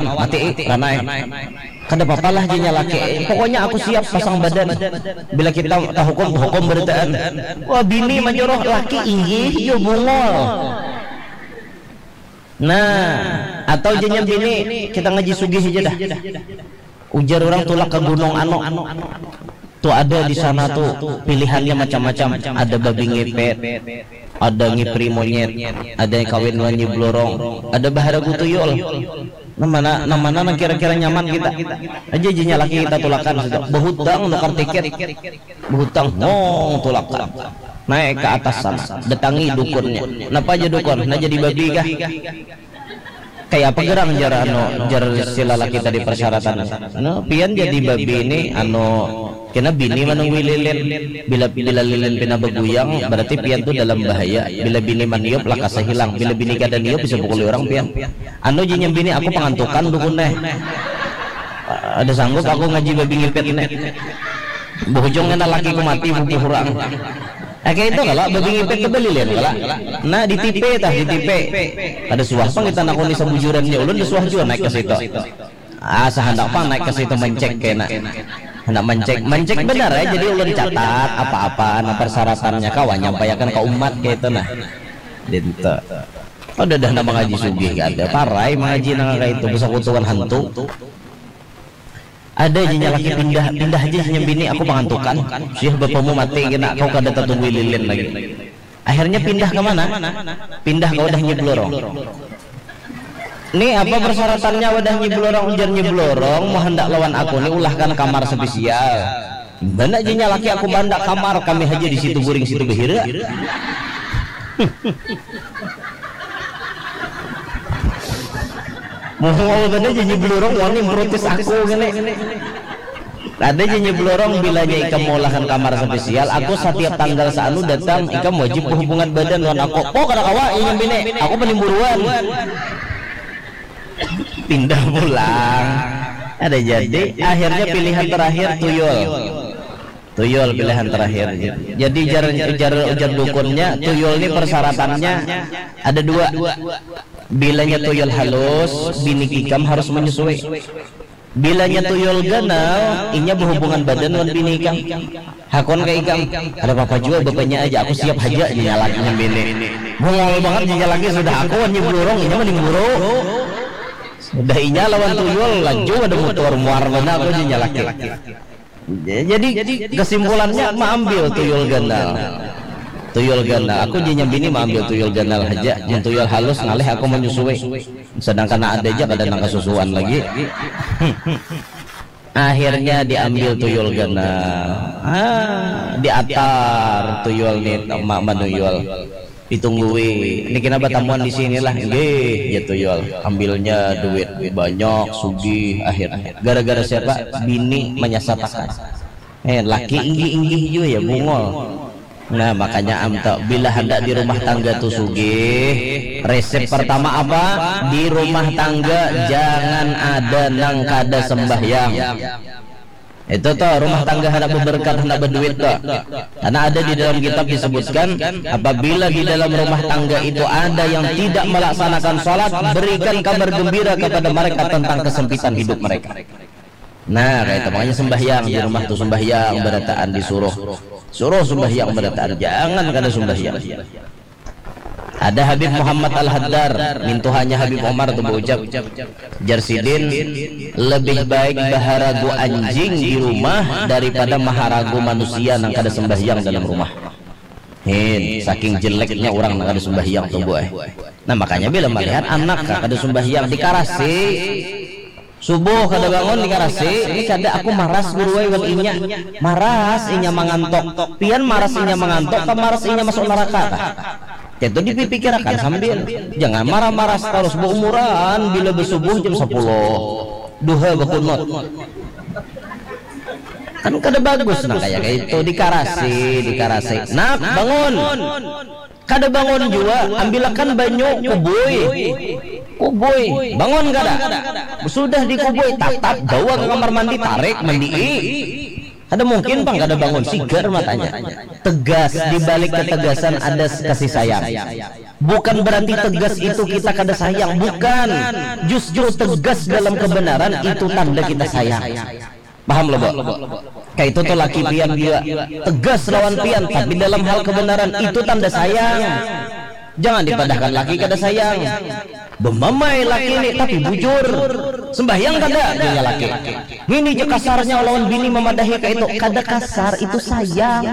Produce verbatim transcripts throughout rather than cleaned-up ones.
mati, eh, ranai. Kada papalah, jenya laki, eh, pokoknya aku siap pasang badan. Bila kita tahukum, hukum berataan. Wah, bini manjuruh, laki inggih jo bungul. Nah, atau jenya bini, kita ngaji sugih aja dah. Ujar orang tulak ke gunung anu. Tu ada di sana tu pilihannya macam-macam. Ada babi ngepet, ada ngipri monyet, ada yang kawin wan nyi blorong, ada baharagu tuyul. Nah mana, nah mana nang kira-kira nyaman kita. Aja jenya laki kita tulakan situ. Bahutang nukar tiket. Bahutang ngong tulakan. Naik ke atas sana, datangi dukunnya. Napa aja dukun? Nah jadi babi kah? Kayak apa gerang jar anu, jar si lalaki tadi persyaratan. Anu, pian jadi babi ini anu kena bini menunggu lilin. Bila bila lilin pina beguyang berarti pian tuh dalam bahaya. Bila bini maniup lakasa hilang. Bila bini kada niup bisa pukuli orang pian. Anu jinya bini aku pangantukan dukun deh. Ada sanggup aku ngaji babi ngipet ini. Bujung kena lakiku mati bubuh orang. Eh, kayak itu kalau babi ngipet ke beli lihat kalau. Nah, di tipe tah, di tipe. Ada suah pang kita nakuni sebujurannya ulun, ada suah juga naik ke situ. Ah, sehendak pang naik ke situ mencek kena. Hendak mencek, mencek benar ya. Jadi ulun catat apa-apa, nah persyaratannya kawan nyampaikan ke umat kayak itu nah. Dinta. Ada dah nama ngaji sugih kada. Parai mengaji nang kayak itu bersekutuan hantu. Ada aja nyalaki pindah, pindah aja nyambini aku pangantukan. Sih bapamu mati kena kau kada tatunggu lilin lagi. Akhirnya pindah ke mana? Pindah ke wadah nyiblorong. Ni apa persyaratannya wadah nyiblorong? Ujar nyiblorong mau hendak lawan aku ni ulahkan kamar spesial. Mana aja nyalaki aku bandak kamar kami aja di situ guring situ behira. Muhol banar janji belurung wani merutis aku gini. Ada janji belurung bilanya ikam mengulahkan kamar spesial, aku setiap tanggal seanu datang, ikam wajib berhubungan badan lawan aku. Oh kada kawa, ingin bini, aku penimburuan. Pindah pulang. Ada jadi, akhirnya pilihan terakhir tuyul. Tuyul pilihan terakhir. Jadi ujar ujar ujar dukunnya, tuyul ni persyaratannya ada dua. Bilanya tuyul halus, bini ikam harus menyusui. Bilanya tuyul ganal, inya berhubungan badan dengan bini ikam. Hakun ke ikam, ada apa jua bapanya aja, aku siap haja nyalakan bini. Bungol banget nyalaki sudah aku wan nyibulurung, inya mending buru. Sudah inya lawan tuyul laju ada mutur muar banar aku nyalaki. Jadi kesimpulannya maambil tuyul ganal. Tuyul ganal. Aku janya bini maambil tuyul ganal haja. Mun tuyul halus ngalih aku manyusui. Sedangkan ada aja kada nang kasusuan lagi. Akhirnya diambil tuyul ganal. Ah, diatar tuyul ni ma manuyul. Ditunggui, ini kena batamuan di sini lah. Nggih, ya tuyul. Ambilnya duit banyak, sugih akhirnya. Gara-gara siapa? Bini menyesatakan. Eh, laki inggih-inggih jua ya bungol. Nah, makanya am tu bila handak di rumah tangga tu sugih, resep pertama apa? Di rumah tangga jangan ada nang kada sembahyang. Itu tuh rumah tangga hendak berberkat, hendak berduit tuh. Karena ada di dalam kitab disebutkan, apabila di dalam rumah tangga itu ada yang tidak melaksanakan sholat, berikan kabar gembira kepada mereka tentang kesempitan hidup mereka. Nah, kayak itu makanya sembahyang di rumah tuh, sembahyang berataan disuruh, suruh sembahyang berataan, jangan kada sembahyang. Ada Habib Muhammad Al-Haddar, mintuhanya Habib Omar tu baucap. Jar sidin, lebih baik baharagu anjing di rumah daripada maharagu manusia nang kada sembahyang dalam rumah. Hin, saking jeleknya orang nang kada sembahyang tu buai. Nah, makanya bila melihat anak kada sembahyang dikarasi, subuh kada bangun dikarasi, ini kada aku maras guru ai wan inya. Maras inya mangantok. Pian maras inya mangantok, kah maras inya masuk neraka kah? Itu dipikirakan sambil. Jangan marah-marah terus, beumuran bila besubuh jam sepuluh. Duha bekunut. Kan kada bagus nah kayak itu dikarasi, dikarasi. Nak, bangun. Kada bangun jua, ambilakan banyu kubui. Kubui, bangun kada? Sudah dikubui, tatap bawa ke kamar mandi, tarik, mandii. Kada mungkin pang kada bangun, sigar matanya. Tegas, di balik ketegasan ada kasih sayang. Bukan berarti tegas itu kita kada sayang, bukan. Justru tegas dalam kebenaran itu tanda kita sayang. Paham lo, Bo? Kayak itu tuh laki pian juga tegas lawan pian, tapi dalam hal kebenaran itu tanda sayang. Jangan dipadahkan laki kada sayang. Bemamai laki ini tapi bujur. Sembahyang kada, dia laki. Ini je kasarnya lawan bini memadahi kayak itu. Kada kasar, itu sayang.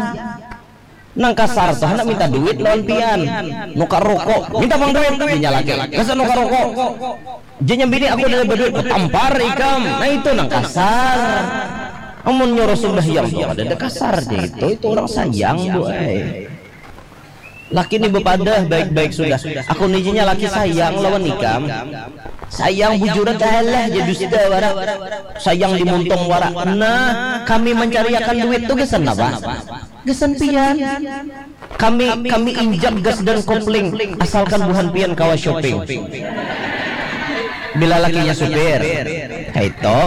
Nang kasar tuh hendak minta duit lawan pian, nukar rokok, minta bang duit, dinya laki, masa nukar rokok, jenya bini aku ada berduit, tampar ikam, nah itu nang kasar. Amun nyuruh sembahyang tuh ada kasar itu, itu orang sayang bu eh. Laki ini bepadah baik-baik sudah, aku nijinya laki sayang lawan ikam, sayang bujuran kalah jadi dusta wara, sayang dimuntung wara, nah kami mencariakan duit tuh gesan apa? Gasan pian. Kami kami injak gas dan kopling asalkan buhan pian kawa shopping. Bila lakinya supir. Kaito.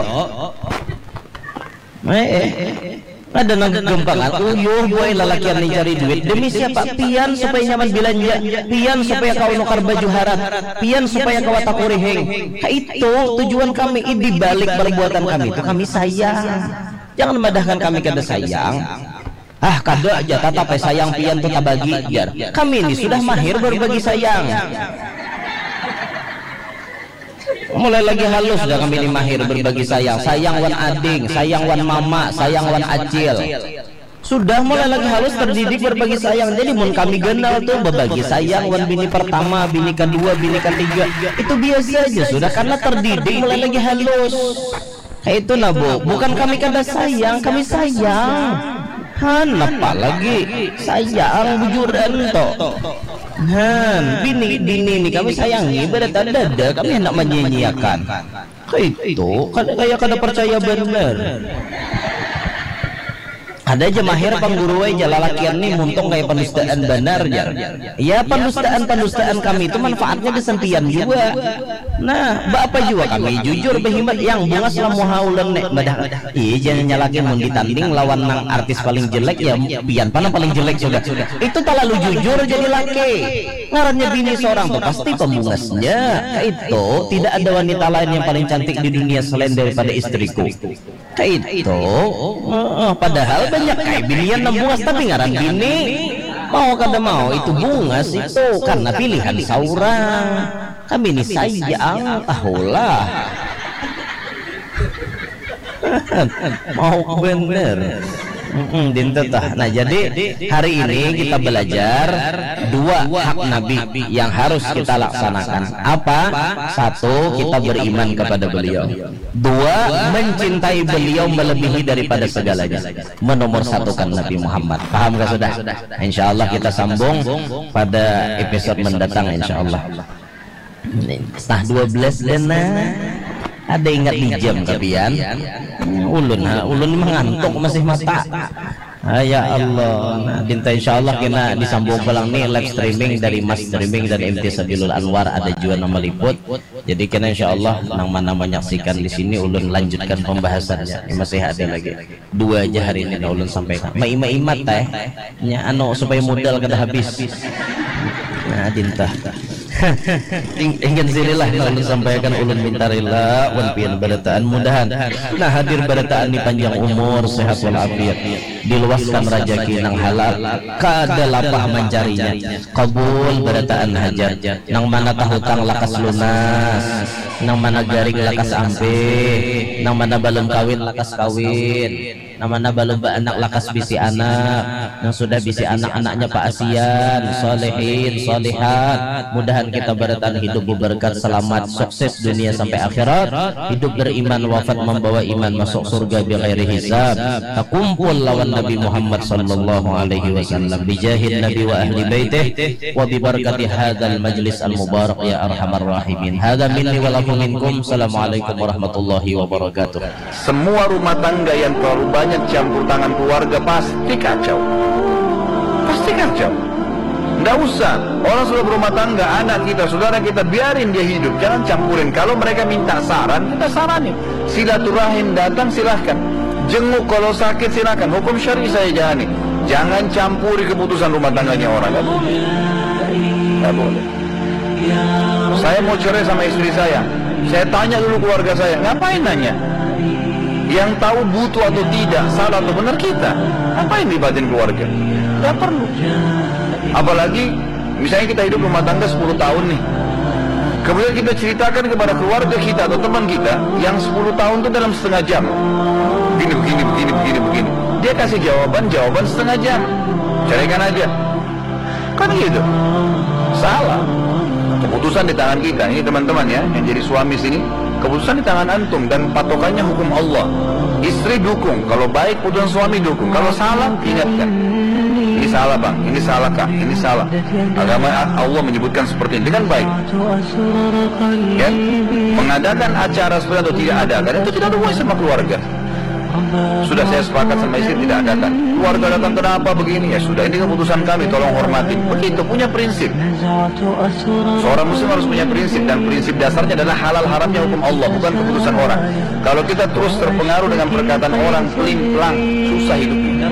Eh, eh. Ada nang gempangan, uyuh boy lalakian ni cari duit. Demi siapa? Pian supaya nyaman belanja, pian supaya kawa nukar baju harat, pian supaya kawa takurihing. Kaitu tujuan kami, di balik perbuatan kami itu kami sayang. Jangan madahkan kami kada sayang. Ah kada aja tatap ai sayang pian tu tabagi jar. Kami ni sudah mahir berbagi sayang. Mulai lagi halus dah kami ni mahir berbagi sayang. Sayang wan ading, sayang wan mama, sayang wan acil. Sudah mulai lagi halus terdidik berbagi sayang. Jadi mun kami ganal tu berbagi sayang wan bini pertama, bini kedua, bini ketiga. Itu biasa aja sudah karena terdidik mulai lagi halus. Kayak itu nah bu, bukan kami kada sayang, kami sayang. Han, apa lagi sayang bujuran to. Han, bini bini ni kami sayangi, berada dada kami hendak menyanyiakan. Kayak itu, kada kayak kada percaya benar. Ada aja mahir pangguru aja lalakian nih muntung kayak pendustaan benar jar. Ya pendustaan pendustaan kami itu manfaatnya di sentian juga. Nah, baapa jua kami jujur behimat yang bungas lah muha ulun nek badah. Iya jangan nyalaki mun ditanding lawan nang artis paling jelek ya pian pana paling jelek sudah. Itu talalu jujur jadi laki. Ngarannya bini seorang tuh pasti pembungasnya. Itu tidak ada wanita lain yang paling cantik di dunia selain daripada istriku. Kaitu. Heeh, padahal banyak kai binian nang bungas tapi ngaran bini. Mau kada mau itu bungas itu karena pilihan saurang. Kami ni sayang, ahulah. Mau bener. Mm-mm, dintu tah. Nah, jadi hari ini kita belajar dua hak Nabi yang harus kita laksanakan. Apa? Satu, kita beriman kepada beliau. Dua, mencintai beliau melebihi daripada segalanya. Menomor satukan Nabi Muhammad. Paham gak sudah? Insya Allah kita sambung pada episode mendatang insya Allah. Setengah dua belas dan nah. Ada ingat di jam kapian? Ulun ha, ulun mengantuk masih mata. Ah, ya Allah. Nah, dinta insya Allah kena disambung pulang nih live streaming dari Mas Streaming dan M T Sabilul Anwar ada juga nama liput. Jadi kena insya Allah nang mana menyaksikan di sini ulun lanjutkan pembahasannya. Ini masih ada lagi. Dua aja hari ini ulun sampaikan. Maima-imat teh. Nya anu supaya modal kada habis. Nah, dinta. Ingin sinilah ulun sampaikan ulun minta rela wan pian barataan mudahan. Nah, hadir barataan ni panjang umur, sehat walafiat. Diluaskan rajaki nang halal, kada lapah mancarinya. Kabul barataan hajat. Nang mana tahutang lakas lunas, nang mana garing lakas ampih, nang mana balum kawin lakas kawin, nang mana balum baanak lakas bisi anak, nang sudah bisi anak anaknya paasian, solehin, solehat. Mudahan kita barataan hidup beberkat, selamat, sukses dunia sampai akhirat, hidup beriman, wafat membawa iman, masuk surga bighairi hisab. Takumpul lawan Nabi Muhammad sallallahu alaihi wasallam bijahin Nabi wa ahli baitih wa bibarakati hadzal majlis al mubarak ya arhamar rahimin. Hadza minni wa lakum minkum. Assalamualaikum warahmatullahi wabarakatuh. Semua rumah tangga yang terlalu banyak campur tangan keluarga pasti kacau. Pasti kacau. Nggak usah. Orang sudah berumah tangga, anak kita, saudara kita, biarin dia hidup. Jangan campurin. Kalau mereka minta saran, kita saranin. Silaturahim datang, silahkan. Jenguk kalau sakit, silahkan. Hukum syari saya jalani. Jangan campuri keputusan rumah tangganya orang. Nggak boleh. Tidak boleh. Saya mau cerai sama istri saya. Saya tanya dulu keluarga saya. Ngapain nanya? Yang tahu butuh atau tidak, salah atau benar kita. Ngapain libatin keluarga? Tidak perlu. Apalagi misalnya kita hidup rumah tangga sepuluh tahun nih. Kemudian kita ceritakan kepada keluarga kita atau teman kita yang sepuluh tahun itu dalam setengah jam. Begini, begini, begini, begini, begini. Dia kasih jawaban, jawaban setengah jam. Ceraikan aja. Kan gitu. Salah. Keputusan di tangan kita. Ini teman-teman ya, yang jadi suami sini, keputusan di tangan antum dan patokannya hukum Allah. Istri dukung, kalau baik keputusan suami dukung. Kalau salah, ingatkan. Ini salah bang, ini salah kak, ini salah. Agama Allah menyebutkan seperti ini, kan baik. Ya, mengadakan acara seperti itu tidak ada, karena itu tidak ada hubungannya sama keluarga. Sudah saya sepakat sama istri tidak adakan. Keluarga datang kenapa begini? Ya sudah, ini keputusan kami, tolong hormatin. Begitu, punya prinsip. Seorang muslim harus punya prinsip, dan prinsip dasarnya adalah halal haramnya hukum Allah, bukan keputusan orang. Kalau kita terus terpengaruh dengan perkataan orang, pelin pelang, susah hidupnya.